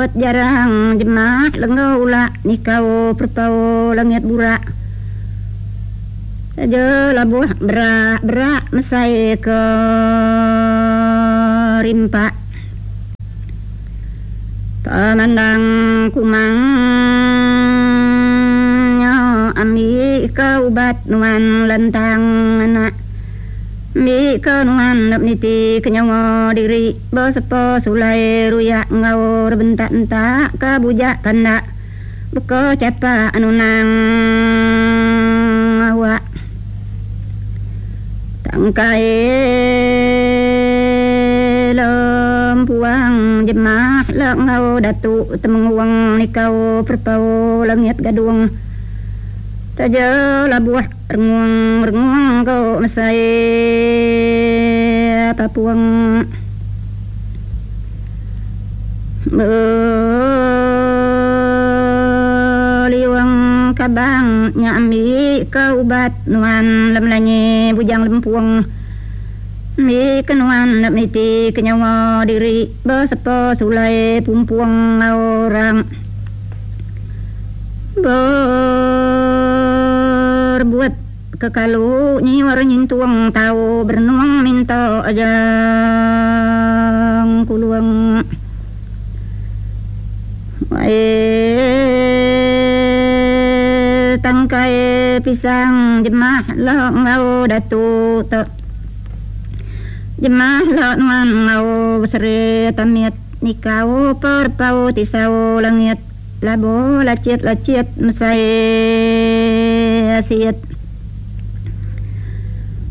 Berbuat jarang jemah lenggau ulak nikau perepau langit burak. Taja labuh berak berak mesai ke rimpak. Pemandang kumang nya ambi ke ubat nuan lentang anak. Ambi ke nuan enda meniti ke nyawa diri besepa sulai ruyak enggau rebentak entak ke bujak pandak beka chapak nunang awak. Tangkai lempuang jemah le enggau datu temenguang nikau perepau langit gadung. Taja labuh rengung-rengung ko mesai papuang. Beliung kabang nya ambi ke ubat nuan lemelanyi bujang lempung. Ambi ke nuan enda meniti ke nyawa diri besepa sulai pumpung enggau orang. Berebut ke kalu nyiur nyintung tau berenung minta ajang kulung. Wai tangkai pisang jemah lo enggau datu tu. Jemah lo nuan enggau beseri tamit nikau perepau tisau langit. Labu lachit-lachit mesai asit.